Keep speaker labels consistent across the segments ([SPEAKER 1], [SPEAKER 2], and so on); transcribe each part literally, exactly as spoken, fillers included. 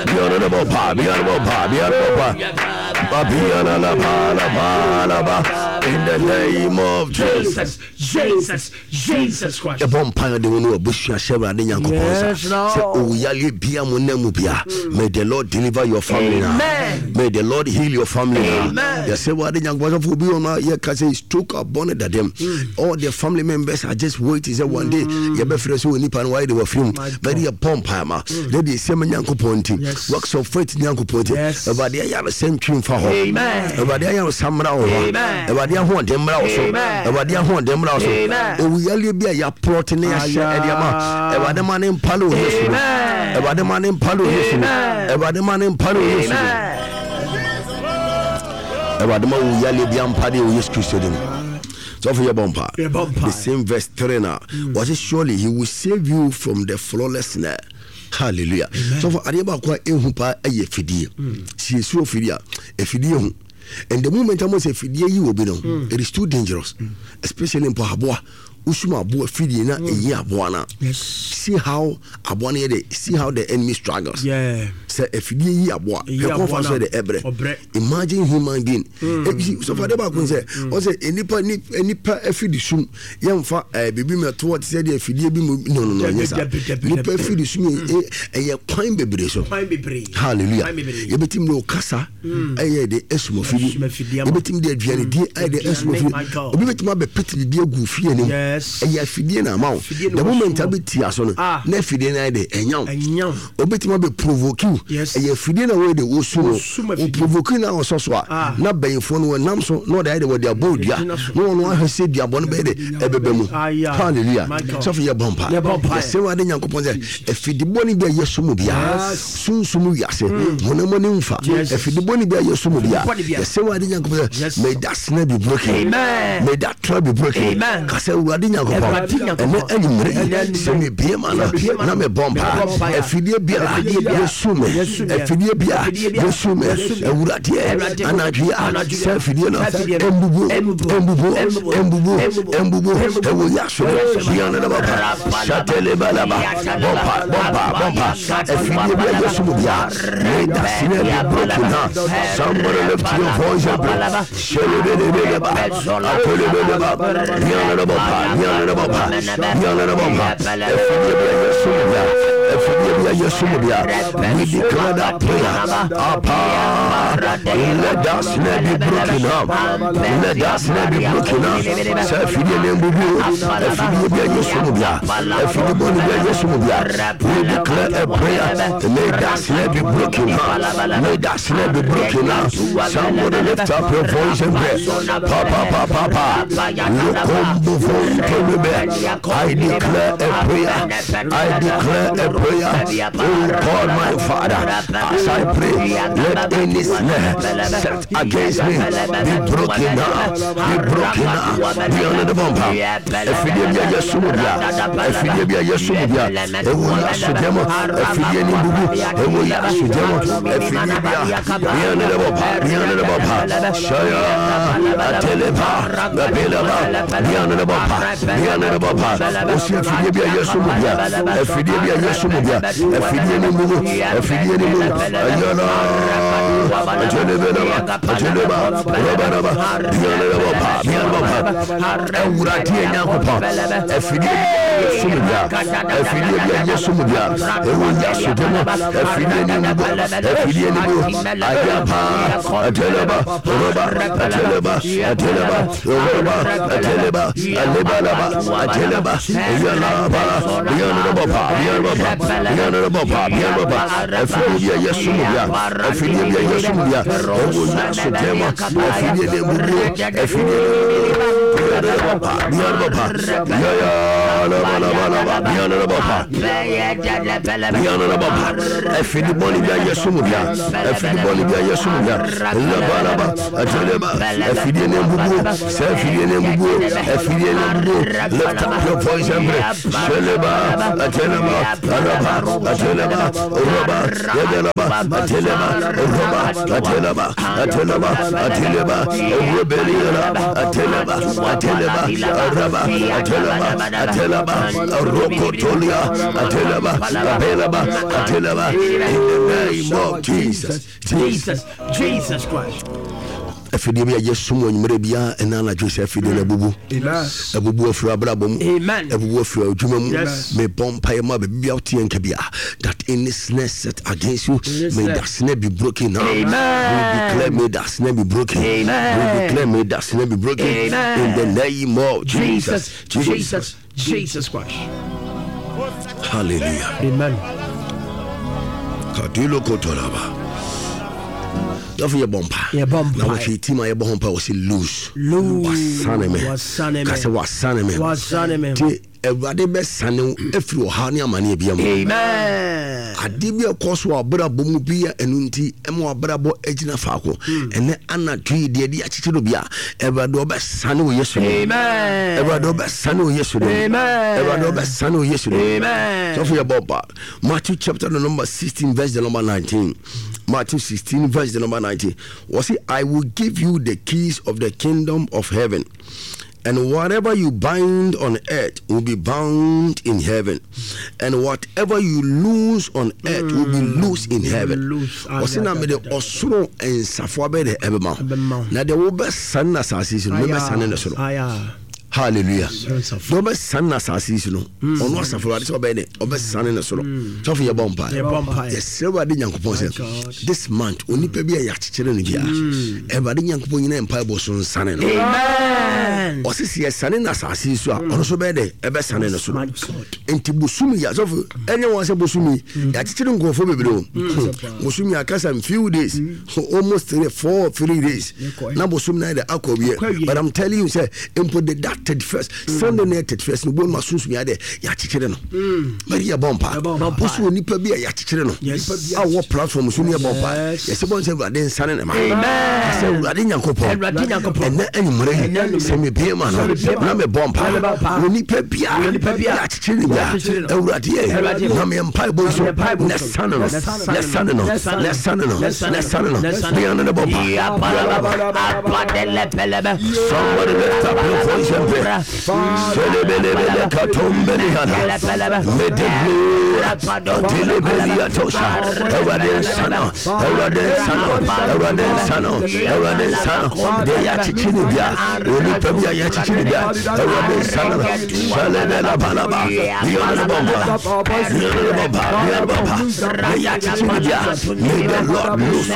[SPEAKER 1] Bianaba, Bianaba, Bianaba, Bianaba, in the name of Jesus.
[SPEAKER 2] Jesus, Jesus Christ.
[SPEAKER 1] Yɛbɔ mpaeɛ de wo ne wabusua hyɛ Awurade Nyankopɔn nsa
[SPEAKER 2] Yes, Lord.
[SPEAKER 1] sɛ owuyaleɛ bia mo nam mu bia, may the Lord deliver your family now.
[SPEAKER 2] Amen.
[SPEAKER 1] May the Lord heal your family now.
[SPEAKER 2] Amen.
[SPEAKER 1] Yɛsɛ Awurade Nyankopɔn sɛ obi wɔ no a yɛka sɛ stroke abɔ ne dadam, all the family members are just waiting sɛ one day yɛbɛfrɛ sɛ onipa no wayɛ de wafiri mu, bɛde yɛbɔ mpaeɛ ma na deɛ ɛsɛ ma Nyankopɔn nti,
[SPEAKER 2] Yes.
[SPEAKER 1] works of faith Nyankopɔn nti,
[SPEAKER 2] Yes.
[SPEAKER 1] Awurade ayaresa ntwi mfa hɔ.
[SPEAKER 2] Amen.
[SPEAKER 1] Awurade ayaresa mmra wo hɔ.
[SPEAKER 2] Amen.
[SPEAKER 1] Awurade ahoɔden mmra wo so.
[SPEAKER 2] Amen.
[SPEAKER 1] Awurade ahoɔden mmra wo so.
[SPEAKER 2] Amen.
[SPEAKER 1] Owuyaleɛ bi a yɛaplɔte ne yɛahyɛ ɛde ama, Awurade ma ne mpale wɔ Yesu mu.
[SPEAKER 2] Amen.
[SPEAKER 1] Awurade ma ne mpale wɔ Yesu mu.
[SPEAKER 2] Amen.
[SPEAKER 1] Awurade ma ne mpale wɔ Yesu mu.
[SPEAKER 2] Amen.
[SPEAKER 1] Awurade ma owuyaleɛ bi ampale wɔ Yesu Kristo dim. Sɔfo, yɛbɔ mpa.
[SPEAKER 2] Yɛbɔ mpa.
[SPEAKER 1] The same verse three na wɔse, "Surely he will save you from the flawless snare." Hallelujah. Sɔfo, adeɛ baako a ɛhu paa ɛyɛ fidie. Si yɛsuro fidie a, afidie hu, and the moment a mo sɛ fidie yi wɔ bi no, it is too dangerous, especially mpo aboa wosum aboa fidie na ɛyi aboa no a,
[SPEAKER 2] Yes.
[SPEAKER 1] see how aboa no yɛ de, see how the enemy struggles.
[SPEAKER 2] Yeah.
[SPEAKER 1] Sɛ afidie yi aboa,
[SPEAKER 2] Ɛyi
[SPEAKER 1] hwɛ
[SPEAKER 2] aboa
[SPEAKER 1] kɔnfa so
[SPEAKER 2] no.
[SPEAKER 1] yɛ de ɛbrɛ.
[SPEAKER 2] Ɔbrɛ.
[SPEAKER 1] Imagine human being. Ebi sɔfo, ade baako sɛ ɔsɛ nipa nipa afidi sum, yɛmfa ɛɛ biribi mɛto te sɛ deɛ afidie bi mu no no no ɛnyɛ saa.
[SPEAKER 2] Dabi, dabi,
[SPEAKER 1] Nipa
[SPEAKER 2] dabi.
[SPEAKER 1] afidi sum yɛ ɛyɛ kwan bebree so.
[SPEAKER 2] Kwan bebree.
[SPEAKER 1] Hallelujah.
[SPEAKER 2] Kwan bebree.
[SPEAKER 1] Yɛbɛtumi de ɔkasa ɛyɛ de esum afidi.
[SPEAKER 2] Esum afidie ama.
[SPEAKER 1] Yɛbɛtumi de aduane ɛyɛ de esum
[SPEAKER 2] Aduane,
[SPEAKER 1] afidi.
[SPEAKER 2] my God.
[SPEAKER 1] Obi bɛtumi abɛpete biribi agu fie anim.
[SPEAKER 2] Yes.
[SPEAKER 1] Ɛyɛ afidie na ama wo.
[SPEAKER 2] Afidie na
[SPEAKER 1] The moment
[SPEAKER 2] wɔsum wo.
[SPEAKER 1] abɛtia so no,
[SPEAKER 2] Ah.
[SPEAKER 1] na afidie no ayɛ de ɛnya wo.
[SPEAKER 2] Ɛnya wo.
[SPEAKER 1] Obɛtumi abɛ provoke wo.
[SPEAKER 2] Yes.
[SPEAKER 1] Ɛyɛ afidie na wɔyɛ de wɔsu no.
[SPEAKER 2] Wɔsum
[SPEAKER 1] wo
[SPEAKER 2] afidie.
[SPEAKER 1] provoke na ɔsɔ so a,
[SPEAKER 2] Ah.
[SPEAKER 1] na bɛyinfoɔ no wɔnam so na ɔde ayɛ de wɔde abɔ dua
[SPEAKER 2] Gyina so.
[SPEAKER 1] na wɔn ahwɛ sɛ duabɔ no bɛyɛ de ɛbɛbɛ mu.
[SPEAKER 2] Aya.
[SPEAKER 1] Hallelujah.
[SPEAKER 2] My God.
[SPEAKER 1] Sɔfo, yɛ bɔ mpa.
[SPEAKER 2] Yɛbɔ mpa.
[SPEAKER 1] Yɛsɛ Awurade Nyankopɔn sɛ afidibɔne bi a yɛso mu biara, sunsum wiase, honam ani mfa,
[SPEAKER 2] Yes.
[SPEAKER 1] afidibɔne bi a yɛso mu biara,
[SPEAKER 2] Afidibɔne biara.
[SPEAKER 1] yɛsɛ Awurade Nyankopɔn sɛ
[SPEAKER 2] Yes.
[SPEAKER 1] may that snare be broken.
[SPEAKER 2] Amen.
[SPEAKER 1] May that trap be broken.
[SPEAKER 2] Amen.
[SPEAKER 1] Kasɛ Awurade Nyankopɔn,
[SPEAKER 2] Awurade Nyankopɔn.
[SPEAKER 1] ɛnɛ anwummerɛ yi,
[SPEAKER 2] Ɛnɛ
[SPEAKER 1] sɛ mebie ma no
[SPEAKER 2] Sɛ mebie ma
[SPEAKER 1] na
[SPEAKER 2] no,
[SPEAKER 1] mebɔ mpa,
[SPEAKER 2] mebɔ mpa.
[SPEAKER 1] afidie biara
[SPEAKER 2] Afidie biara.
[SPEAKER 1] yɛsu me,
[SPEAKER 2] Yɛsu me.
[SPEAKER 1] afidie biara
[SPEAKER 2] Afidie biara.
[SPEAKER 1] yɛsu me,
[SPEAKER 2] Yɛsu me.
[SPEAKER 1] Awuradeɛ,
[SPEAKER 2] Awurade.
[SPEAKER 1] anadwo a
[SPEAKER 2] Anadwo a.
[SPEAKER 1] sɛ afidie no
[SPEAKER 2] Sɛ afidie no.
[SPEAKER 1] ɛmbubu,
[SPEAKER 2] Ɛmbubu.
[SPEAKER 1] ɛmbubu,
[SPEAKER 2] Ɛmbubu.
[SPEAKER 1] ɛmbubu,
[SPEAKER 2] Ɛmbubu.
[SPEAKER 1] ɛmbubu,
[SPEAKER 2] Ɛmbubu.
[SPEAKER 1] ɛwɔ yaso biana na baba shatelebalaba. Bɔmpa, bɔmpa, bɔmpa. Afidie bi a yɛsu mu bia, may that snare be broken now. Somebody lift your voice and pray. Shelebelebeleba, atelebeleba, biana na baba, biana na baba, biana na baba. Afidie bi a yɛsu mu bia, afidie bi a yɛsu mu bia, we declare that prayer. Apa, let that snare be broken up, let that snare be broken up. Sɛ afidie ne mbubu, afidie bi a yɛsu mu bia, afidie bɔne bi a yɛsu mu bia, we declare a prayer. May that snare be broken up, may that snare be broken up. Somebody lift up your voice and pray. Pa pa pa pa pa lukombo vontelebe. I declare a prayer, I declare a prayer. Oh God, my Father, as I pray, let any snare set against me be broken up, be broken up. Be under the bumper. Afidie bi a yɛso mu bia, afidie bi a yɛso mu bia, ɛwɔ Yesu dɛm, afidie ni bubu, ɛwɔ Yesu dɛm, afidie bi a, be under the bumper, be under the bumper. Shaya ateleba babeleba, be under the bumper, be under the bumper. Osi afidie bi a yɛso mu bia, afidie bi a yɛso mu bia, afidie ni bubu, afidie ni bubu. Ayala atelebeleba, ateleba robaraba, be under the bumper, be under the bumper. Awurade Nyankopɔn, afidie bi a yɛso mu bia, afidie bi a yɛso mu bia, ɛwɔ Yesu dɛm, afidie ni mu, afidie ni mu. Ayapa ateleba roba ateleba ateleba roba ateleba alebalaba ateleba yalaba yanababa yanababa yanababa yanababa. Afidie bi a yɛso mu bia, afidie bi a yɛso mu bia, ɛwɔ Yesu dɛm, afidie ni mu, afidie ni mu yanababa yanababa yaya laba laba laba yanababa yanababa. Afidi bɔne bi a yɛso mu bia, afidi bɔne bi a yɛso mu bia, labalaba ateleba, afidie ne mbubuo, sɛ afidie ne mbubuo, afidie ne mbubuo. Lift up your voice and pray. Sheleba ateleba alaba ateleba roba yebelaba ateleba roba ateleba ateleba ateleba rebeliana ateleba. Ateleba, Araba, Ateleba, Ateleba, Rokotolia, Ateleba, Abelaba, Ateleba, in the name of Jesus.
[SPEAKER 2] Jesus, Jesus Christ.
[SPEAKER 1] Afidie bi a yɛsum wɔ nwummerɛ biara ɛna anadwo sɛ afidie no abubu. Abubu afiri abrabɔ mu. Abubu afiri adwuma mu. Mebɔ mpaeɛ ma baabi bia wote yɛn nka bia that any snare set against you, may that snare be broken now. We declare may that snare be broken. We declare may that snare be broken. In the name of Jesus.
[SPEAKER 2] Jesus, Jesus Christ.
[SPEAKER 1] Hallelujah.
[SPEAKER 2] Amen.
[SPEAKER 1] Kadilo kotolaba. Dɔfo yɛ bɔ mpa.
[SPEAKER 2] Yɛbɔ mpaeɛ.
[SPEAKER 1] Na wɔhwɛ team a yɛbɔ ho mpa wɔsi loose.
[SPEAKER 2] Loose.
[SPEAKER 1] Wasane me.
[SPEAKER 2] Wasane me.
[SPEAKER 1] Kasɛ wasane me.
[SPEAKER 2] Wasane me.
[SPEAKER 1] Ti Awurade bɛsane wo efiri ɔhaw ne amaneɛ bia mu.
[SPEAKER 2] Amen.
[SPEAKER 1] Ade bi a ɛkɔ so wɔ abrabɔ mu bi a ɛno nti ɛma abrabɔ agyina faako. Ɛnɛ anadwo yi deɛ de akyekyere bi a Awurade ɔbɛsane wo Yesu dim.
[SPEAKER 2] Amen.
[SPEAKER 1] Awurade ɔbɛsane wo Yesu dim.
[SPEAKER 2] Amen.
[SPEAKER 1] Awurade ɔbɛsane wo Yesu dim.
[SPEAKER 2] Amen.
[SPEAKER 1] Sɔfo yɛ bɔ mpa. Matthew chapter the number sixteen verse the number nineteen. Matthew sixteen verse the number nineteen. Wɔsi I will give you the keys of the kingdom of heaven. And whatever you bind on earth will be bound in heaven. And whatever you loose on earth will be loose in heaven.
[SPEAKER 2] Loose.
[SPEAKER 1] Ɔsi na mede ɔsoro nsafo abɛyɛ dɛ ɛbɛma wo.
[SPEAKER 2] Ɛbɛma wo.
[SPEAKER 1] Na deɛ wobɛsane na asase yi so no, mɛbɛsane ne soro.
[SPEAKER 2] Aya.
[SPEAKER 1] Hallelujah.
[SPEAKER 2] Nsafo.
[SPEAKER 1] Deɛ wobɛsane na asase yi so no, ɔno asafo Awurade sɛ ɔbɛyɛ dɛ ɔbɛsane ne soro. Sɔfo yɛbɔ mpa.
[SPEAKER 2] Yɛbɔ mpaeɛ.
[SPEAKER 1] Yɛsrɛ Awurade Nyankopɔn sɛ
[SPEAKER 2] God.
[SPEAKER 1] this month onipa bi a yɛakyekyere no biara, Awurade Nyankopɔn nyina mpaebɔ so nsane no.
[SPEAKER 2] Amen.
[SPEAKER 1] Ɔse sɛ yɛsane no asase yi so a, ɔno nso bɛyɛ dɛ ɛbɛsane no soro.
[SPEAKER 2] My God.
[SPEAKER 1] Nti bosom yi asɔfo ɛnyɛ wɔn sɛ bosom yi yɛakyekyere nkurɔfoɔ bebree o. Bosom yi aka some few days, almost three four three days na bosom na yɛ dɛ akɔ
[SPEAKER 2] Akɔ
[SPEAKER 1] wie.
[SPEAKER 2] awie.
[SPEAKER 1] But I'm telling you sɛ mpo the that thirty first Sunday na yɛ thirty first no bɔn ma sunsun yɛ dɛ yɛakyekyere no. Mɛri yɛ bɔ mpa.
[SPEAKER 2] Yɛbɔ mpa.
[SPEAKER 1] Bosom onipa bi a yɛakyekyere no
[SPEAKER 2] Yes.
[SPEAKER 1] a wɔ platform so ne yɛ bɔ mpa.
[SPEAKER 2] Yes.
[SPEAKER 1] Yɛsɛ bɔn sɛ Awurade nsane ne ma.
[SPEAKER 2] Amen.
[SPEAKER 1] Sɛ Awurade Nyankopɔn.
[SPEAKER 2] Awurade Nyankopɔn.
[SPEAKER 1] Ɛnɛ anwummerɛ yi sɛ mebie ma no na mebɔ mpa.
[SPEAKER 2] Na mebɔ mpa.
[SPEAKER 1] Onipa biara
[SPEAKER 2] Onipa biara
[SPEAKER 1] yɛakyekyere no biara
[SPEAKER 2] yɛakyekyere no.
[SPEAKER 1] Awurade yɛ
[SPEAKER 2] Awurade yɛ.
[SPEAKER 1] na meyɛ mpaebɔ yi so
[SPEAKER 2] Na meyɛ mpaebɔ
[SPEAKER 1] na
[SPEAKER 2] so.
[SPEAKER 1] sane no
[SPEAKER 2] Na sane no.
[SPEAKER 1] na sane no
[SPEAKER 2] Na sane no.
[SPEAKER 1] na sane no
[SPEAKER 2] Na sane
[SPEAKER 1] na sane no
[SPEAKER 2] no. Na sane no.
[SPEAKER 1] bia no ne bɔ mpa. Somebody lift up your voice and pray. Selebelebele katombelihana. Medeblu atelebeliatosha. Awurade nsa no, Awurade nsa no, Awurade nsa no, Awurade nsa no. Deɛ yɛakyekyere no bia, onipa bi a yɛakyekyere bia, Awurade nsa no. Selebelabalaba. Bia no ne bɔ mpa. Bia no ne bɔ mpa. Bia no bɔ mpa. Deɛ yɛakyekyere no bia, may the Lord loose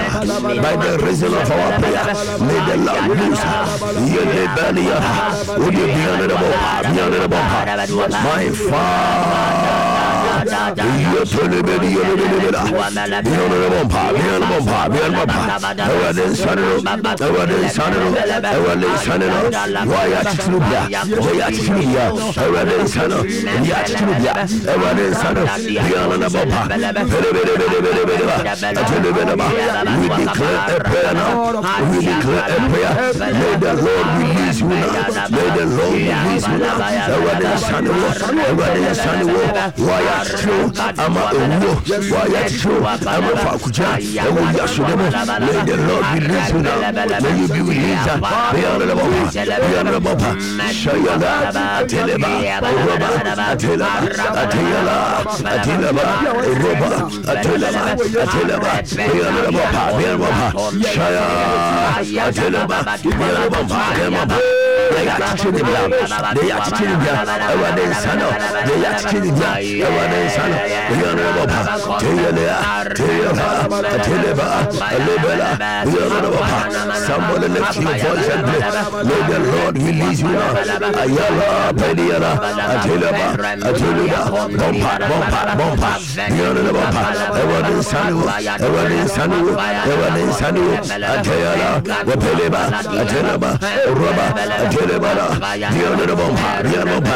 [SPEAKER 1] by the reason of our prayer. May the Lord loose. Yelebelia. Wode bia no ne bɔ mpa. Bia no ne bɔ mpa. My Father. Awurade nsane no, Awurade nsane no, Awurade nsane no. Wɔayɛ akyekyere bia, wɔyɛ akyekyere bia, Awurade nsane no, yɛ akyekyere bia, Awurade nsane no. Bia no ne bɔ mpa. We declare a prayer now. We declare a prayer. May the Lord release you now. May the Lord release you now. Awurade nsane wo, Awurade nsane wo. Wɔayɛ akyekyere wo ama owuo, wɔayɛ akyekyere wo ama faakugya ɛwɔ wiase no mu. May the Lord release you now. May you be released. Bia no ne bɔ mpa. Bia no ne bɔ mpa. Shayala, Ateleba, Roba, Atelaba, Ateyala, Atelaba, Roba, Atelaba, Atelaba, Bia no ne bɔ mpa. Bia no bɔ mpa. Shaya, Atelaba, Bia no ne bɔ mpa. Bia no bɔ mpa. Deɛ yɛakyekyere ne bia, deɛ yɛakyekyere ne bia, Awurade nsa no, deɛ yɛakyekyere ne bia, Awurade nsa no, bia no ne bɔ mpa. Teyelea, Teyaba, Ateleba, Alebela, Bia no ne bɔ mpa. Somebody lift your voice and pray. May the Lord release you now. Ayala, Pediala, Ateleba, Ateleba, Bompa, Bompa, Bompa, Bia no ne bɔ mpa. Awurade nsa no wo, Awurade nsa no wo, Awurade nsa no wo. Ateyala, Wapeleba, Ateleba, Roba, Atelebala, Bia no ne bɔ mpa, Bia no bɔ mpa.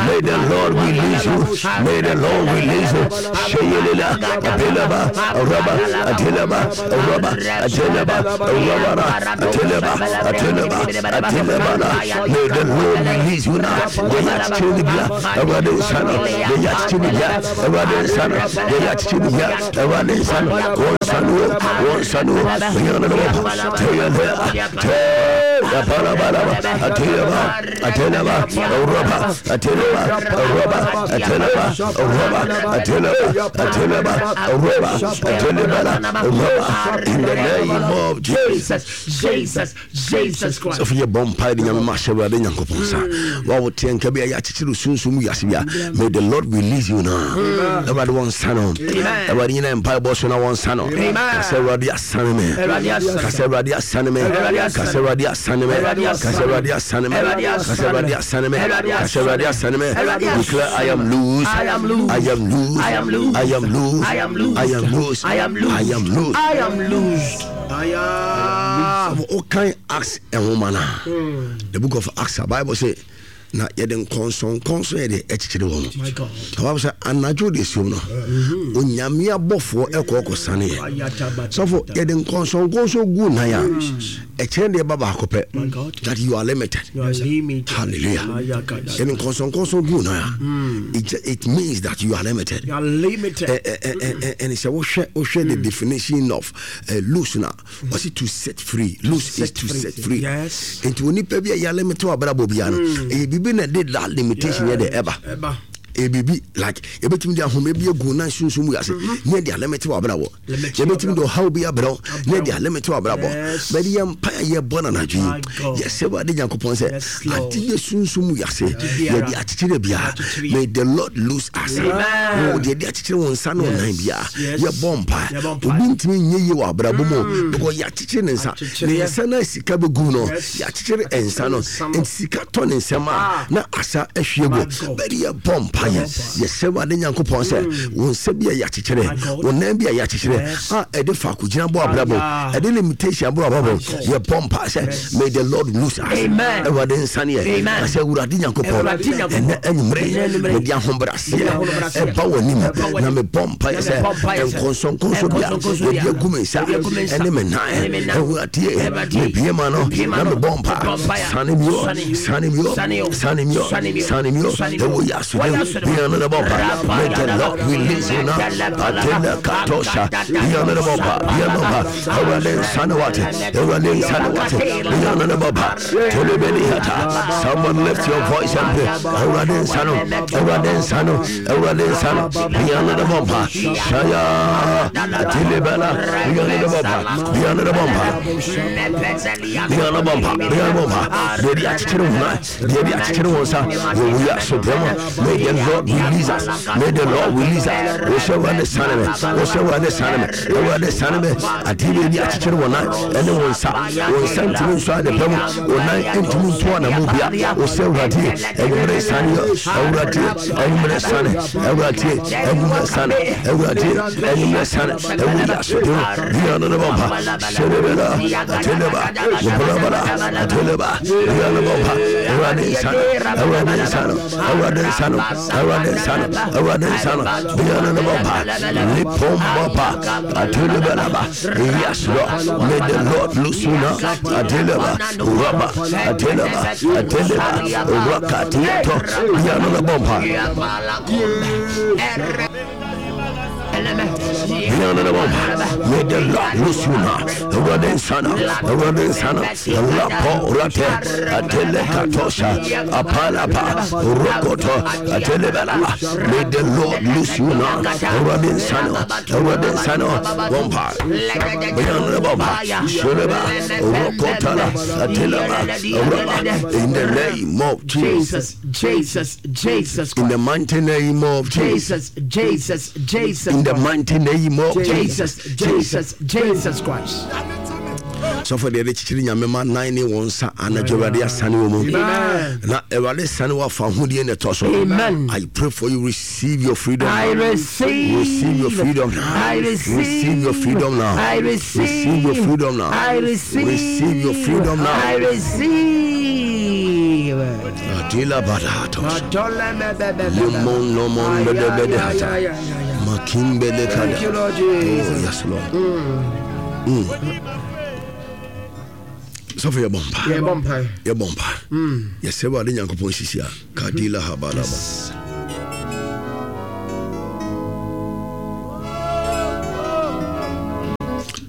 [SPEAKER 1] May the Lord release you. May the Lord release you. Sheyelila, Apeleba, Roba, Ateleba, Roba, Ateleba, Robara, Ateleba, Ateleba, Atelebala. May the Lord release you now. The yachchini bia, Awurade nsa no, the yachchini bia, Awurade nsa no, the yachchini bia, Awurade nsa no, wɔn nsa no, wɔn nsa no, bia no ne bɔ mpa. Teyelea, te. Apalabalaba, Atelaba, Atelaba, Oroba, Atelaba, Oroba, Atelaba, Oroba, Atelaba, Atelaba, Oroba, Atelaba, Oroba, in the name of Jesus.
[SPEAKER 2] Jesus, Jesus Christ.
[SPEAKER 1] Sɔfo yɛ bɔ mpae de Nyame ma hyɛ Awurade Nyankopɔn nsa. Wa wo teɛ nka bi a yɛakyekyere sunsum wiase bi a, may the Lord release you now. Awurade wɔn nsa no. Awurade nyina mpae bɔ so na wɔn nsa no. Kasa Awurade asane me. Kasa Awurade asane me. Kasa Awurade asane me. Kasa Awurade asane me. Kasa Awurade asane me. Kasa Awurade asane me. Declare I am loose.
[SPEAKER 2] I am loose.
[SPEAKER 1] I am loose.
[SPEAKER 2] I am loose.
[SPEAKER 1] I am loose.
[SPEAKER 2] I am loose.
[SPEAKER 1] I am loose.
[SPEAKER 2] I am loose.
[SPEAKER 1] I am loose.
[SPEAKER 2] I am loose. Aya.
[SPEAKER 1] Wokan Acts nwoma no a, the book of Acts a Bible say na yɛde nkɔnsɔnkɔnsɔn yɛde ɛkyekyere wɔn.
[SPEAKER 2] My God.
[SPEAKER 1] Na Bible sɛ anadwo de siom no, Onyame abɔfoɔ ɛkɔ ɔkɔsane yɛ. Sɔfo yɛde nkɔnsɔnkɔnsɔn gu nan a, ɛkyerɛ deɛ ɛba baako pɛ, that you are limited.
[SPEAKER 2] You are limited.
[SPEAKER 1] Hallelujah. Yɛde nkɔnsɔnkɔnsɔn gu nan a, it, it means that you are limited.
[SPEAKER 2] You are limited.
[SPEAKER 1] And sɛ wohwɛ wohwɛ the definition of uh, loose na ɔsi to set free. Loose is to set free.
[SPEAKER 2] Yes.
[SPEAKER 1] Nti onipa bi a yɛ limit wɔ abrabɔ biara no, ɛyɛ biribi na ɛde that limitation yɛ de ɛba.
[SPEAKER 2] Eba.
[SPEAKER 1] Ɛyɛ biribi like yɛbɛtumi de ahoma bi agu nan sunsun mu yase ne yɛde alimit wɔ abrabɔ.
[SPEAKER 2] Limit
[SPEAKER 1] Yɛbɛtumi de ɔhaw bi abrɛ wo ne yɛde alimit wɔ abrabɔ.
[SPEAKER 2] Yes.
[SPEAKER 1] Bɛde yɛ mpa a yɛbɔ no anadwo
[SPEAKER 2] My
[SPEAKER 1] yi,
[SPEAKER 2] God.
[SPEAKER 1] yɛsɛ Awurade Nyankopɔn sɛ
[SPEAKER 2] Yes, Lord.
[SPEAKER 1] ade yɛ sunsun mu yase
[SPEAKER 2] biara.
[SPEAKER 1] yɛde akyekyere biara.
[SPEAKER 2] Akyekyere.
[SPEAKER 1] May the Lord loose us.
[SPEAKER 2] Amen.
[SPEAKER 1] Wo deɛ yɛde akyekyere wo nsa ne wo nan biara,
[SPEAKER 2] Yes.
[SPEAKER 1] yɛbɔ mpa.
[SPEAKER 2] Yɛbɔ mpa.
[SPEAKER 1] Obi ntumi nyɛ yie wɔ abrabɔ mu because yɛakyekyere ne nsa.
[SPEAKER 2] Akyekyere.
[SPEAKER 1] Ne nsa no a sika bɛgu no,
[SPEAKER 2] Yes.
[SPEAKER 1] yɛakyekyere nsa no.
[SPEAKER 2] Nsa no.
[SPEAKER 1] Nti sika tɔ ne nsɛm a
[SPEAKER 2] Ah.
[SPEAKER 1] na asa ahwie
[SPEAKER 2] My
[SPEAKER 1] gu.
[SPEAKER 2] God.
[SPEAKER 1] Bɛde yɛbɔ mpa yɛ. Yɛsɛ Awurade Nyankopɔn sɛ wo nsa bi a yɛakyekyere,
[SPEAKER 2] My God.
[SPEAKER 1] wo nan bi a yɛakyekyere
[SPEAKER 2] Yes.
[SPEAKER 1] a ɛde faako gyina bɔ abrabɔ,
[SPEAKER 2] Ah,
[SPEAKER 1] ɛde limitation bɔ abrabɔ, yɛbɔ mpa sɛ
[SPEAKER 2] Yes.
[SPEAKER 1] may the Lord loose us.
[SPEAKER 2] Amen.
[SPEAKER 1] Awurade nsa ne yɛ.
[SPEAKER 2] Amen.
[SPEAKER 1] Ka sɛ Awurade Nyankopɔn,
[SPEAKER 2] Awurade Nyankopɔn,
[SPEAKER 1] ɛnɛ anwummerɛ
[SPEAKER 2] ɛnnɛ anwummerɛ,
[SPEAKER 1] mede ahobrɛaseɛ
[SPEAKER 2] mede ahobrɛaseɛ
[SPEAKER 1] ɛba w'anim
[SPEAKER 2] ɛba w'anim,
[SPEAKER 1] na mebɔ mpa yɛ
[SPEAKER 2] na
[SPEAKER 1] sɛ
[SPEAKER 2] mebɔ mpaeɛ sɛ
[SPEAKER 1] nkɔnsɔnkɔnsɔn bi a
[SPEAKER 2] nkɔnsɔnkɔnsɔn bi a
[SPEAKER 1] yɛde agu me nsa
[SPEAKER 2] yɛde agu me nsa
[SPEAKER 1] ɛne me nan,
[SPEAKER 2] ɛne me nan,
[SPEAKER 1] Awurade,
[SPEAKER 2] Awurade,
[SPEAKER 1] mebue ma no
[SPEAKER 2] mebue ma
[SPEAKER 1] na
[SPEAKER 2] no,
[SPEAKER 1] mebɔ mpa.
[SPEAKER 2] mebɔ mpaeɛ.
[SPEAKER 1] Sane bio,
[SPEAKER 2] Sane.
[SPEAKER 1] sane bio,
[SPEAKER 2] Sane o.
[SPEAKER 1] sane bio,
[SPEAKER 2] Sane bio.
[SPEAKER 1] sane bio.
[SPEAKER 2] Sane bio.
[SPEAKER 1] Ɛwɔ yɛ aso
[SPEAKER 2] Wɔyɛ
[SPEAKER 1] dɛm.
[SPEAKER 2] aso dɛm.
[SPEAKER 1] Bia no ne bɔ mpa. May the Lord release you now. Atela katosha. Bia no ne bɔ mpa. Bia no mpa. Awurade nsa ne wate. Awurade nsa ne wate. Bia no ne bɔ mpa. Telebeli hata. Someone lift your voice and pray. Awurade nsa no. Awurade nsa no. Awurade nsa no. Bia no ne bɔ mpa. Shaya. Atelebela. Bia no ne bɔ mpa. Bia no ne bɔ mpa. Bia no bɔ mpa. Bia no bɔ mpa. Deɛ de akyekyere wo nan, deɛ de akyekyere wo nsa, wɔwu yɛ aso dɛm a, may the Lord release us. May the Lord release us. Wɔhyɛ Awurade sane me. Wɔhyɛ Awurade sane me. Awurade sane me. Adeɛ bi a akyekyere wo nan ɛne wo nsa. Wo nsa ntumi nso ade pɛ mu. Wo nan ntumi nto anammɔn bia. Wɔhyɛ Awurade anwummerɛ sane yɛ. Awurade anwummerɛ sane. Awurade anwummerɛ sane. Awurade anwummerɛ sane. Ɛwɔ yɛ aso dɛm. Bia no ne bɔ mpa. Hyɛlebela. Ateleba. Wɔbɔlabala. Ateleba. Bia no bɔ mpa. Awurade nsane. Awurade nsane. Awurade nsane. Awurade nsane. Awurade nsane. Bia no ne bɔ mpa. Lipombapa. Atelebelaba. Yes, Lord. May the Lord loose you now. Ateleba. Rubber. Ateleba. Ateleba. Rakatiato. Bia no ne bɔ mpa. Bia no ne bɔ mpa. May the Lord loose you now. Awurade nsane. Awurade nsane. Lapo rate. Atele katosha. Apalapa. Rokoto. Atelebelaba. May the Lord loose you now. Awurade nsane. Awurade nsane. Bɔ mpa. Bia no ne bɔ mpa. Shureba. Rokotala. Ateleba. Rubber. In the name of Jesus.
[SPEAKER 2] Jesus, Jesus, Jesus
[SPEAKER 1] In the
[SPEAKER 2] Christ.
[SPEAKER 1] mighty name of Jesus.
[SPEAKER 2] Jesus, Jesus, Jesus
[SPEAKER 1] In the
[SPEAKER 2] Christ.
[SPEAKER 1] mighty name of Jesus.
[SPEAKER 2] Jesus, Jesus, Jesus Christ.
[SPEAKER 1] Sɔfo deɛ de kyekyere Nyame ma nan ne wɔn nsa anadwo, Awurade asane wɔ mu.
[SPEAKER 2] Amen.
[SPEAKER 1] Na Awurade sane wɔ afa ahodie na ɛtɔ so.
[SPEAKER 2] Amen.
[SPEAKER 1] I pray for you, receive your freedom.
[SPEAKER 2] I receive.
[SPEAKER 1] Receive your freedom now.
[SPEAKER 2] I receive.
[SPEAKER 1] Receive your freedom now.
[SPEAKER 2] I receive.
[SPEAKER 1] Receive your freedom now.
[SPEAKER 2] I receive.
[SPEAKER 1] Receive your freedom now.
[SPEAKER 2] I receive.
[SPEAKER 1] Adila badatos. Limon lomon bede hata. Makimbele kada.
[SPEAKER 2] Thank you, Lord Jesus.
[SPEAKER 1] Oh, yes, Lord. Mm. Sɔfo yɛbɔ mpa.
[SPEAKER 2] Yɛbɔ mpae.
[SPEAKER 1] Yɛbɔ mpa. Yɛsɛ Awurade Nyankopɔn sisi a kadila habalaba.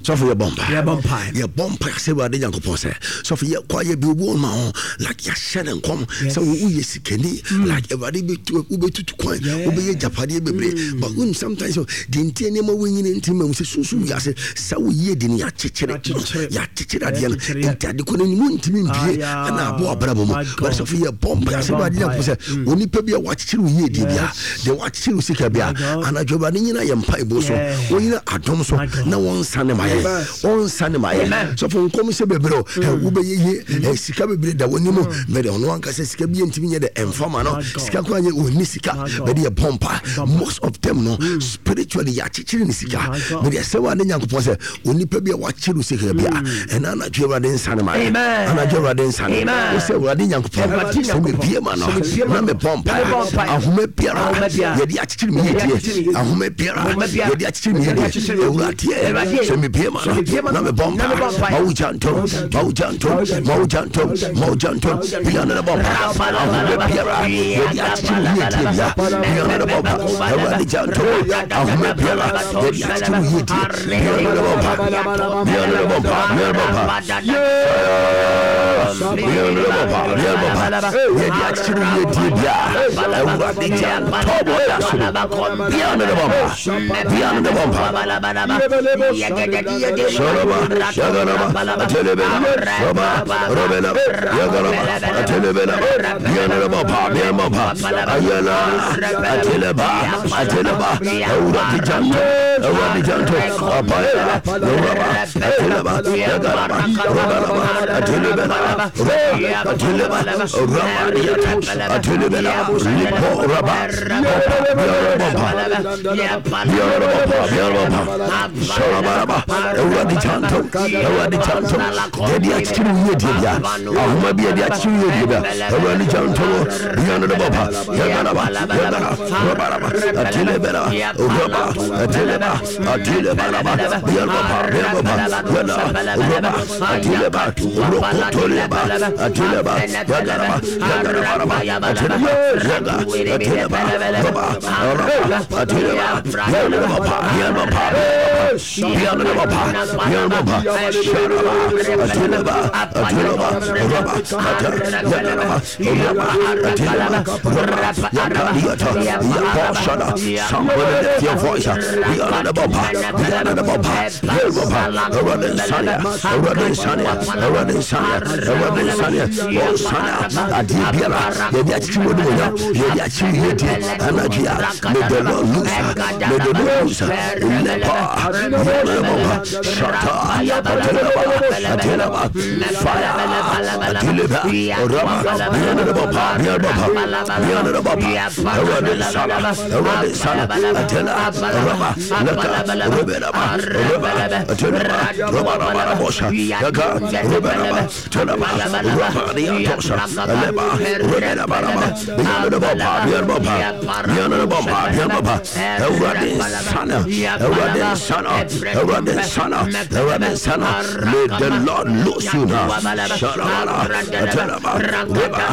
[SPEAKER 1] Sɔfo, yɛbɔ mpa.
[SPEAKER 2] Yɛbɔ mpae.
[SPEAKER 1] Yɛbɔ mpa sɛ Awurade Nyankopɔn sɛ, sɔfo, yɛkɔ ayɛ bi obi wɔ ma ho like yɛahyɛ ne nkɔm sɛ wo woyɛ sikani, like Awurade bɛtu wobɛtutu kwan, wobɛyɛ gyapadeɛ bebree. But wonim, sometimes deɛ nti nneɛma wɔnyini nti ma mu sɛ sunsun wiase sɛ woyie de no, yɛakyekyere.
[SPEAKER 2] Yɛakyekyere.
[SPEAKER 1] Yɛakyekyere adeɛ no.
[SPEAKER 2] Yɛakyekyere.
[SPEAKER 1] Nti ade kɔ no anim ntumi mpie.
[SPEAKER 2] Ah,
[SPEAKER 1] Ɛna aboa abrabɔ mu.
[SPEAKER 2] My God.
[SPEAKER 1] But sɔfo, yɛbɔ mpa sɛ
[SPEAKER 2] Yɛbɔ
[SPEAKER 1] Awurade Nyankopɔn sɛ
[SPEAKER 2] mpae.
[SPEAKER 1] onipa bi a wakyekyere wo yie die bia,
[SPEAKER 2] Yes.
[SPEAKER 1] deɛ wakyekyere wo sika bia,
[SPEAKER 2] My God.
[SPEAKER 1] anadwo Awurade nyina yɛ mpaebɔ so,
[SPEAKER 2] Yeah.
[SPEAKER 1] wɔnyina adom so
[SPEAKER 2] My God.
[SPEAKER 1] na wɔnsane ma yɛ, ɔnsane ma yɛ. Sɔfo, nkɔm sɛ bebree o, ɛ, wobɛyɛ yie, ɛ, sika bebree da w'anim, bɛde ɔno ankasa sika bi ntumi nyɛ dɛ ɛmfa ma no.
[SPEAKER 2] My God.
[SPEAKER 1] Sika koraa nyɛ, ɔnni sika.
[SPEAKER 2] My God.
[SPEAKER 1] Bɛde yɛ bɔ mpa, most of them no, spiritually yɛakyekyere ne sika.
[SPEAKER 2] My God.
[SPEAKER 1] Bɛde ɛsɛ wa ne Nyankopɔn sɛ onipa bi a wakyekyere wo sika bia, ɛna anadwo Awurade nsane ma yɛ.
[SPEAKER 2] Amen.
[SPEAKER 1] Anadwo Awurade nsane.
[SPEAKER 2] Amen.
[SPEAKER 1] Wo sɛ Awurade Nyankopɔn
[SPEAKER 2] Awurade
[SPEAKER 1] sɛ
[SPEAKER 2] Nyankopɔn.
[SPEAKER 1] mebie ma no
[SPEAKER 2] Sɛ mebie ma
[SPEAKER 1] na
[SPEAKER 2] no,
[SPEAKER 1] mebɔ
[SPEAKER 2] na mebɔ
[SPEAKER 1] mpa,
[SPEAKER 2] mpaeɛ.
[SPEAKER 1] ahoma biara
[SPEAKER 2] Ahoma biara.
[SPEAKER 1] yɛde akyekyere me
[SPEAKER 2] Yɛde
[SPEAKER 1] yɛdie,
[SPEAKER 2] akyekyere me yɛdie.
[SPEAKER 1] ahoma biara
[SPEAKER 2] Ahoma biara.
[SPEAKER 1] yɛde akyekyere me
[SPEAKER 2] Yɛde
[SPEAKER 1] yɛdie,
[SPEAKER 2] akyekyere me yɛdie.
[SPEAKER 1] Awurade,
[SPEAKER 2] Awurade,
[SPEAKER 1] sɛ mebie ma
[SPEAKER 2] sɛ
[SPEAKER 1] no
[SPEAKER 2] mebie ma
[SPEAKER 1] na
[SPEAKER 2] no,
[SPEAKER 1] mebɔ
[SPEAKER 2] na mebɔ
[SPEAKER 1] mpa,
[SPEAKER 2] mpaeɛ.
[SPEAKER 1] ma wogya ntom, ma wogya ntom, ma wogya ntom, ma wogya ntom, bia ne bɔ mpa, ahoma biara yɛde akyekyere wo yɛdie bia, bia ne bɔ mpa, Awurade gya ntom, ahoma biara yɛde akyekyere wo yɛdie, bia ne bɔ mpa, bia ne bɔ mpa, bia ne bɔ mpa, bia ne bɔ mpa, bia ne bɔ mpa, yɛde akyekyere wo yɛdie bia, Awurade gya ntom wɔ yɛ so, bia ne bɔ mpa, bia ne bɔ mpa. Shalaba, Shagalaba, Atelebela, Roba, Robela, Yagalaba, Atelebela, Yanaba, Yamaba, Ayala, Ateleba, Ateleba, Awurade Janto, Awurade Janto, Apaya, Yoraba, Ateleba, Yagalaba, Robalaba, Atelebela, Roba, Ateleba, Raba, Yata, Atelebela, Lipo, Raba, Yarababa, Yarababa, Yarababa, Shalabaraba, Awurade Janto, Awurade Janto, deɛ akyekyere wo yie die bia, ahoma bi yɛde akyekyere wo yie die bia, Awurade Janto, Biana de Baba, Yagalaba, Yagala, Rabaraba, Atelebela, Raba, Ateleba, Atelebalaba, Bialbaba, Bialbaba, Yala, Raba, Ateleba, Rokotoleba, Ateleba, Yagalaba, Yagalabaraba, Ateleba, Yaga, Ateleba, Raba, Raba, Ateleba, Yalababa, Yalababa, Yalababa, Yalababa, Shalaba, Ateleba, Ateleba, Raba, Ata, Yagalaba, Raba, Ateleba, Raba, Yakaliata, Yakoshada. Somebody lift your voice. Yalababa, Yalababa, Yalababa, Awurade Sania, Awurade Sania, Awurade Sania, Awurade Sania, Oh Sania, adeɛ biara yɛde akyekyere wɔ ne wɔnya, yɛde akyere yɛdie anadwo a, may the Lord loose, may the Lord loose. Lepa, Yalababa, Shata, Ateleba, Ateleba, fire, Ateleba, Raba, Yalababa, Yalababa, Yalababa, Awurade Sana, Awurade Sana, Atela, Raba, Laka, Rubelaba, Reba, Ateleba, Raba, Raba, Rabosha, Yaka, Rubelaba, Teleba, Raba, Yatosha, Aleba, Rubelaba, Raba, Yalababa, Yalababa, Yalababa, Yalababa, Awurade Sana, Awurade Sana, Awurade Sana, Awurade Sana, may the Lord loose you now. Shalabala, Ateleba, Reba,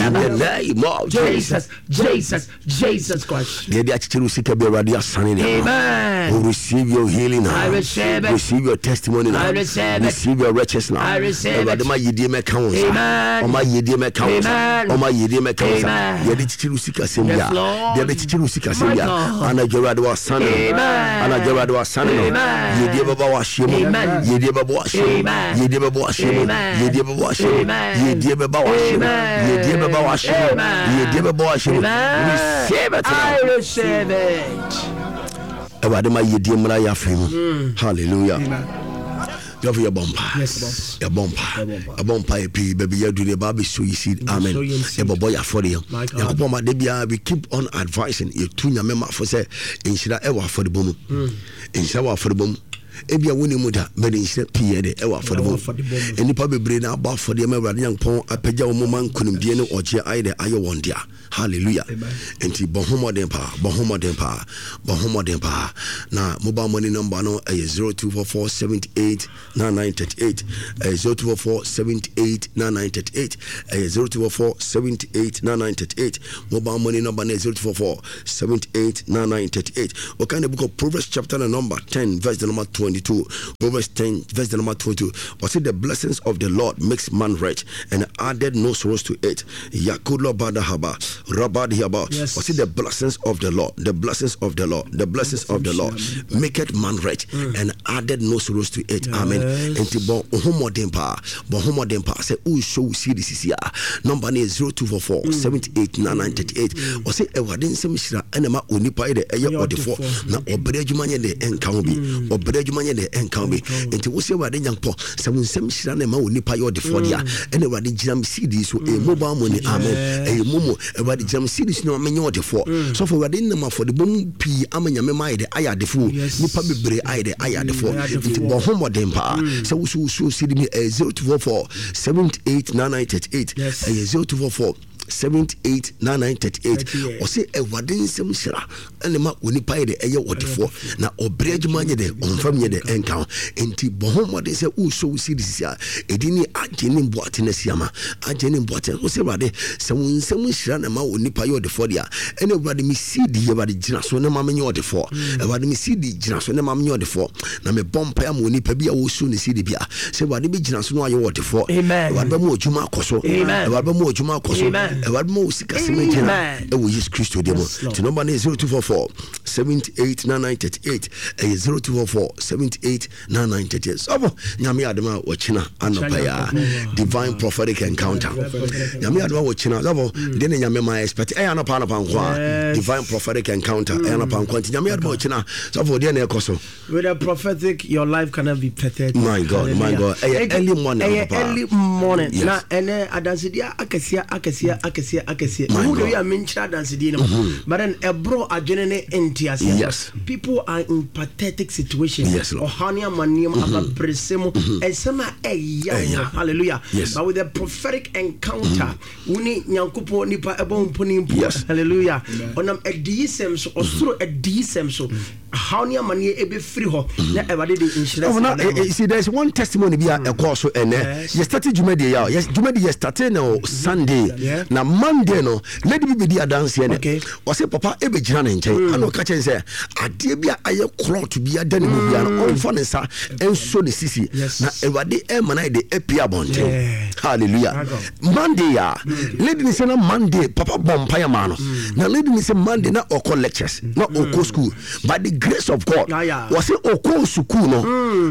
[SPEAKER 1] in the name of Jesus.
[SPEAKER 2] Jesus, Jesus, Jesus Christ.
[SPEAKER 1] Deɛ de akyekyere wo sika bi, Awurade asane ne.
[SPEAKER 2] Amen.
[SPEAKER 1] Oh, receive your healing now.
[SPEAKER 2] I receive it.
[SPEAKER 1] Receive your testimony now.
[SPEAKER 2] I receive it.
[SPEAKER 1] Receive your riches now.
[SPEAKER 2] I receive it.
[SPEAKER 1] Awurade ma yidie mɛka wo nsa.
[SPEAKER 2] Amen.
[SPEAKER 1] Ɔma yidie mɛka wo nsa.
[SPEAKER 2] Amen.
[SPEAKER 1] Ɔma yidie mɛka wo nsa.
[SPEAKER 2] Amen.
[SPEAKER 1] Deɛ de kyekyere wo sika sɛm
[SPEAKER 2] Yes,
[SPEAKER 1] bia.
[SPEAKER 2] Lord.
[SPEAKER 1] Deɛ de kyekyere wo sika sɛm
[SPEAKER 2] My
[SPEAKER 1] bia.
[SPEAKER 2] God.
[SPEAKER 1] Anadwo Awurade wasane no.
[SPEAKER 2] Amen.
[SPEAKER 1] Anadwo Awurade wasane no.
[SPEAKER 2] Amen.
[SPEAKER 1] Yidie bɛba w'ahyɛ mu.
[SPEAKER 2] Amen.
[SPEAKER 1] Yidie bɛba w'ahyɛ mu.
[SPEAKER 2] Amen.
[SPEAKER 1] Yidie bɛba w'ahyɛ mu.
[SPEAKER 2] Amen.
[SPEAKER 1] Yidie bɛba w'ahyɛ mu.
[SPEAKER 2] Amen.
[SPEAKER 1] Yidie bɛba w'ahyɛ mu.
[SPEAKER 2] Amen.
[SPEAKER 1] Yidie bɛba w'ahyɛ mu.
[SPEAKER 2] Amen.
[SPEAKER 1] Yidie bɛba w'ahyɛ mu.
[SPEAKER 2] Amen.
[SPEAKER 1] Receive it now.
[SPEAKER 2] I receive it.
[SPEAKER 1] Awurade ma yɛdie mmra yɛ afei mu. Hallelujah. Yɛfo, yɛbɔ mpa.
[SPEAKER 2] Yes.
[SPEAKER 1] Yɛbɔ mpa, yɛbɔ mpa yɛ pii baabi yɛadu ne yɛba bɛso yi seed. Amen.
[SPEAKER 2] Sow yɛn seed.
[SPEAKER 1] Yɛbɔbɔ yɛ afɔdeɛ.
[SPEAKER 2] My God.
[SPEAKER 1] Nyankopɔn ma da biara we keep on advising, yɛtu Nyame mafo sɛ nhyira ɛwɔ afɔdebɔ mu, nhyira wɔ afɔdebɔ mu. Ebia wone mu da bɛde nhyira pii yɛ de ɛwɔ afɔdebɔ
[SPEAKER 2] Ɛwɔ afɔdebɔ
[SPEAKER 1] mu.
[SPEAKER 2] mu.
[SPEAKER 1] Nnipa bebree na abɔ afɔdeɛ ma Awurade Nyankopɔn apagya wɔn mu ma nkonimdie ne ɔgyeɛ ayɛ dɛ ayɛ wɔn dea. Hallelujah. Nti bɔ ho mmɔden paa, bɔ ho mmɔden paa, bɔ ho mmɔden paa. Na mobile money number no ɛyɛ zero two four four seven eight nine nine three eight, ɛyɛ zero two four four seven eight nine nine three eight, ɛyɛ zero two four four seven eight nine nine three eight. Mobile money number no yɛ zero two four four seven eight nine nine three eight. Wɔka the book of Proverbs, chapter the number ten, verse the number twenty-two, Proverbs ten verse the number twenty-two. Ɔse the blessings of the Lord makes man rich and added no sorrows to it. Yakulo badahaba rabadihaba.
[SPEAKER 2] Yes.
[SPEAKER 1] Ɔse the blessings of the Lord, the blessings of the Lord, the blessings of the Lord maketh man rich and added no sorrows to it. Amen.
[SPEAKER 2] Yes.
[SPEAKER 1] Enti bɔ wo ho mmɔden paa, bɔ ho mmɔden paa sɛ worehyɛ wo seed sisi a, number no yɛ zero two four four seventy-eight nine nine thirty-eight. Ɔse Awurade nsɛm hyira ɛna ma onipa yɛ dɛ ɛyɛ
[SPEAKER 2] Ɛyɛ
[SPEAKER 1] ɔdefoɔ,
[SPEAKER 2] ɔdefoɔ.
[SPEAKER 1] na ɔbrɛ adwuma nyɛ dɛ ɛnka ho bi, ɔbrɛ adwuma nyɛ dɛ ɛnka ho bi. Enti wo sɛ Awurade Nyankopɔn sɛ wo nsɛm hyira na ɛma onipa yɛ ɔdefoɔ deɛ a, ɛna Awurade gyina me seed yi so, ɛyɛ mobile money, amen, ɛyɛ momo. Awurade gyina me seed yi so na menyɛ ɔdefoɔ. Sɔfo, Awurade nam afɔdebɔ mu pii ama Nyame ma ayɛ dɛ ayɛ adefoɔ.
[SPEAKER 2] Yes.
[SPEAKER 1] Nipa bebree ayɛ dɛ ayɛ adefoɔ.
[SPEAKER 2] Ayɛ adefoɔ.
[SPEAKER 1] Nti bɔ ho mmɔden paa sɛ wo so wo so seed mi ɛyɛ zero two four four seventy-eight nine nine thirty-eight.
[SPEAKER 2] Yes.
[SPEAKER 1] Ɛyɛ zero two four four seventy-eight nine nine thirty-eight.
[SPEAKER 2] Thirty-eight.
[SPEAKER 1] Ɔse Awurade nsɛm hyira ɛna ma onipa yɛ dɛ ɛyɛ ɔdefoɔ, na ɔbrɛ adwuma nyɛ dɛ ɔmfam nyɛ dɛ ɛnka ho. Nti bɔ ho mmɔden sɛ wosɔ wo seed sisi a, ɛdi ne agye ne mboate no asi ama agye ne mboate. Wo sɛ Awurade sɛ wo nsɛm hyira na ma onipa yɛ ɔdefoɔ deɛ a, ɛna Awurade me seed yi, Awurade gyina so na ma menyɛ ɔdefoɔ. Awurade me seed gyina so na ma menyɛ ɔdefoɔ. Na mebɔ mpaeɛ ama onipa bi a wɔsu ne seed bi a, sɛ Awurade bɛgyina so na wayɛ ɔdefoɔ.
[SPEAKER 2] Amen.
[SPEAKER 1] Awurade bɛma adwuma akɔ so.
[SPEAKER 2] Amen.
[SPEAKER 1] Awurade bɛma adwuma akɔ so.
[SPEAKER 2] Amen.
[SPEAKER 1] Awurade bɛma wo sikasɛm agyina
[SPEAKER 2] Amen.
[SPEAKER 1] ɛwɔ Yesu Kristo din mu.
[SPEAKER 2] Yes, Lord.
[SPEAKER 1] Nti number no yɛ zero two four four seventy-eight nine nine thirty-eight. Ɛyɛ zero two four four seventy-eight nine nine thirty-eight. Sɔfo, Nyame adom a wɔkyena anɔpa yi a, divine prophetic encounter. Nyame adom a wɔkyena, sɔfo, deɛ na Nyame ma expect ɛyɛ anɔpa anɔpa nko a,
[SPEAKER 2] Yes.
[SPEAKER 1] divine prophetic encounter ɛyɛ anɔpa nko a. Nti Nyame adom a wɔkyena, sɔfo, deɛ na ɛkɔ so.
[SPEAKER 2] With a prophetic, your life cannot be pathetic.
[SPEAKER 1] My God, my
[SPEAKER 2] Hallelujah.
[SPEAKER 1] God. Ɛyɛ
[SPEAKER 2] Enti,
[SPEAKER 1] early morning,
[SPEAKER 2] ɛyɛ
[SPEAKER 1] papa.
[SPEAKER 2] early morning.
[SPEAKER 1] Yes.
[SPEAKER 2] Na ɛnɛ adansedeɛ akɛseɛ akɛseɛ akɛseɛ akɛseɛ.
[SPEAKER 1] My
[SPEAKER 2] Mehu de
[SPEAKER 1] God.
[SPEAKER 2] wi a menkyerɛ adansedeɛ no mu. But then ɛborɔ adwene ne nteaseɛ.
[SPEAKER 1] Yes.
[SPEAKER 2] People are in pathetic situations.
[SPEAKER 1] Yes, Lord.
[SPEAKER 2] Ɔhaw ne amanneɛ mu, ababrɛsɛ mu, nsɛm a ɛyɛ
[SPEAKER 1] Ɛyɛ.
[SPEAKER 2] wɔn. Hallelujah.
[SPEAKER 1] Yes.
[SPEAKER 2] But with a prophetic encounter, wo ne Nyankopɔn nipa ɛbɔ mpo ne mpo.
[SPEAKER 1] Yes.
[SPEAKER 2] Hallelujah. Ɔnam adiyisɛm so, ɔsoro adiyisɛm so, haw ne amanneɛ ɛbɛfiri hɔ na Awurade de nhyira
[SPEAKER 1] Oh, na,
[SPEAKER 2] si
[SPEAKER 1] eh, eh, see, there's one testimony bi a ɛkɔɔ so ɛnɛ.
[SPEAKER 2] Yes.
[SPEAKER 1] Yɛ started dwumadie yɛ a, yɛ dwumadie yɛ started no Sunday.
[SPEAKER 2] Yeah.
[SPEAKER 1] Na Monday no, lady bi bɛdi adanseɛ nɛ.
[SPEAKER 2] Okay.
[SPEAKER 1] Ɔsɛ papa ɛbɛgyina ne nkyɛn. Ana ɔka kyerɛ sɛ adeɛ bi a ayɛ clot bi ada ne mu bia no, ɔmfa ne nsa ɛnso ne sisi.
[SPEAKER 2] Yes.
[SPEAKER 1] Na Awurade ɛma no ayɛ de apue abɔnten.
[SPEAKER 2] Yeah.
[SPEAKER 1] Hallelujah.
[SPEAKER 2] My God.
[SPEAKER 1] Monday a, lady ni sɛ na Monday papa bɔ mpaeɛ maa no. Na lady ni sɛ Monday na ɔkɔ lectures, na ɔkɔ school. By the grace of God,
[SPEAKER 2] Ah, yeah.
[SPEAKER 1] wɔsɛ ɔkɔ sukuu no,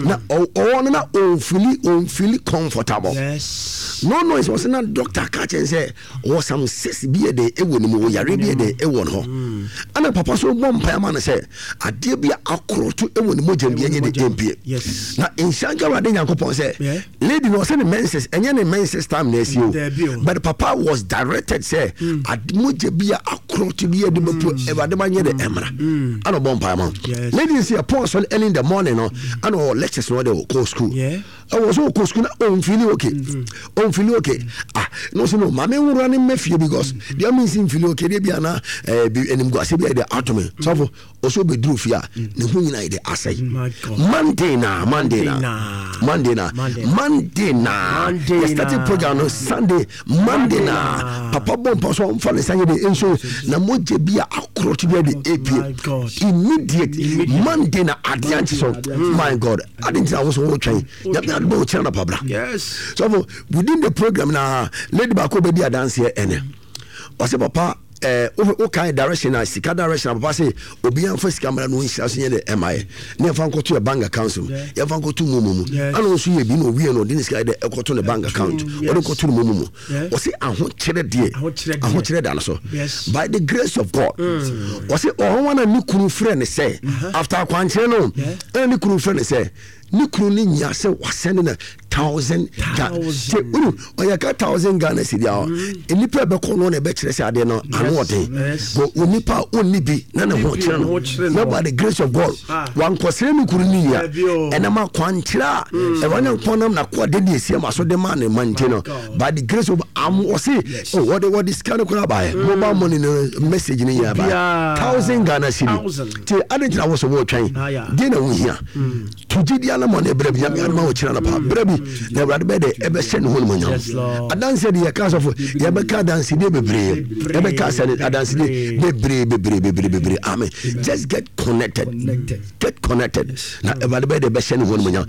[SPEAKER 1] na ɔ- ɔwɔ no na ɔnfili ɔnfili comfortable.
[SPEAKER 2] Yes.
[SPEAKER 1] No noise. Wɔsɛ na doctor ka kyɛn sɛ ɔwɔ some cyst bi yɛ de ɛwɔ ne mu, wɔ yare bi yɛ de ɛwɔ ne hɔ. Ɛna papa so bɔ mpaeɛ ma no sɛ adeɛ bi a akoroto ɛwɔ ne mogya mu bi ɛnyɛ de ɛmpie.
[SPEAKER 2] Yes.
[SPEAKER 1] Na nhyira nka Awurade Nyankopɔn sɛ
[SPEAKER 2] Yeah.
[SPEAKER 1] lady no ɔsɛ ne menses ɛnyɛ ne menses time na ɛsi
[SPEAKER 2] Dabi
[SPEAKER 1] o,
[SPEAKER 2] o.
[SPEAKER 1] but papa was directed sɛ ade mogya bi a akoroto bi yɛ de bɛpo Awurade ma nyɛ de ɛmra. Ɛna ɔbɔ mpaeɛ ma no.
[SPEAKER 2] Yes.
[SPEAKER 1] Lady no sɛ yɛpɔn asɔre early in the morning no, ɛna ɔwɔ lectures no ɔde ɔkɔ school.
[SPEAKER 2] Yeah.
[SPEAKER 1] Ɛwɔ so ɔkɔ school na ɔnfili okay, ɔnfili okay. Ah, na ɔsɛ no maame nwura ne mmɛ fie because deɛ ɔmo nsi nfili okay deɛ bi ana ɛɛ bi animguase bi a yɛ de ato me. Sɔfo, ɔsɛ ɔbɛduru fie a ne ho nyinaa yɛ de asɛe.
[SPEAKER 2] My God.
[SPEAKER 1] Monday na Monday na
[SPEAKER 2] Monday
[SPEAKER 1] Monday
[SPEAKER 2] na.
[SPEAKER 1] na
[SPEAKER 2] Monday.
[SPEAKER 1] Monday na
[SPEAKER 2] Monday
[SPEAKER 1] yɛ started
[SPEAKER 2] na.
[SPEAKER 1] program no Sunday, Monday
[SPEAKER 2] Monday
[SPEAKER 1] na
[SPEAKER 2] na.
[SPEAKER 1] papa bɔ mpa so ɔmfa ne nsa nyɛ de nso na mogya bi a akorɔto bi a de epie
[SPEAKER 2] My God.
[SPEAKER 1] immediate Monday na adeɛ ankye so. My God, ade ntina wo so wotwɛn Nyame adom a wokyerɛ no pabra.
[SPEAKER 2] Yes.
[SPEAKER 1] So within the program na lady baako bɛdi adanseɛ ɛnɛ. Ɔsɛ papa ɛɛ wo wo kan direction na sika direction na papa sɛ obiara nfa sika mmerɛ no nhyira so nyɛ de ɛma yɛ ne yɛmfa nkɔto yɛ bank account mu,
[SPEAKER 2] Yeah.
[SPEAKER 1] yɛmfa nkɔto mu mu mu.
[SPEAKER 2] Yes.
[SPEAKER 1] Ɛna ɔnso yɛ bi na owie no ɔde ne sika yɛ dɛ ɛkɔto ne bank account,
[SPEAKER 2] yes.
[SPEAKER 1] ɔde kɔto ne mu mu mu.
[SPEAKER 2] Yeah.
[SPEAKER 1] Ɔsɛ ahokyerɛ deɛ
[SPEAKER 2] Ahokyerɛ deɛ.
[SPEAKER 1] ahokyerɛ da no so.
[SPEAKER 2] Yes.
[SPEAKER 1] By the grace of God, ɔsɛ ɔhɔn na ne kunu frɛ ne sɛ after akwankyerɛ no,
[SPEAKER 2] Yeah.
[SPEAKER 1] ɛna ne kunu frɛ ne sɛ ne kunu ne nya sɛ wasɛne na thousand Ghana
[SPEAKER 2] Thousand.
[SPEAKER 1] sɛ wonu ɔyɛ ka thousand Ghana cedi a, nnipa a ɛbɛkɔ no na ɛbɛkyerɛ sɛ adeɛ no ano ɔden.
[SPEAKER 2] Yes.
[SPEAKER 1] But onipa a ɔnni bi na ne ho kyerɛ
[SPEAKER 2] ho
[SPEAKER 1] no,
[SPEAKER 2] kyerɛ
[SPEAKER 1] na
[SPEAKER 2] no.
[SPEAKER 1] by the grace of God
[SPEAKER 2] Ah.
[SPEAKER 1] wankɔsrɛ ne kunu ne nya
[SPEAKER 2] Dabi o.
[SPEAKER 1] ɛnam akwankyerɛ a ɛwɔ ne nkɔn nam nakoa de ne ɛsi ama so de maa ne ma nti no,
[SPEAKER 2] God.
[SPEAKER 1] by the grace of am ɔse oh, wɔde wɔde sika no koraa baeɛ, mobile money no message no nyinaa baeɛ
[SPEAKER 2] Obiara.
[SPEAKER 1] thousand Ghana cedi.
[SPEAKER 2] Thousand.
[SPEAKER 1] Nti ade ntina wo so wɔretwɛn
[SPEAKER 2] Ah, yeah.
[SPEAKER 1] deɛ na wohia to gyidi anamɔ ne berɛ bi Nyame adoma wo kyerɛ no pa berɛ bi na Awurade bɛyɛ dɛ ɛbɛhyɛ ne ho nomonyam. Adanseɛ de yɛka, asɔfo, yɛbɛka adansedie bebree, yɛbɛka asɛne adansedie bebree bebree bebree bebree. Amen. Just get connected, get connected, na Awurade bɛyɛ dɛ ɛbɛhyɛ ne ho nomonyam.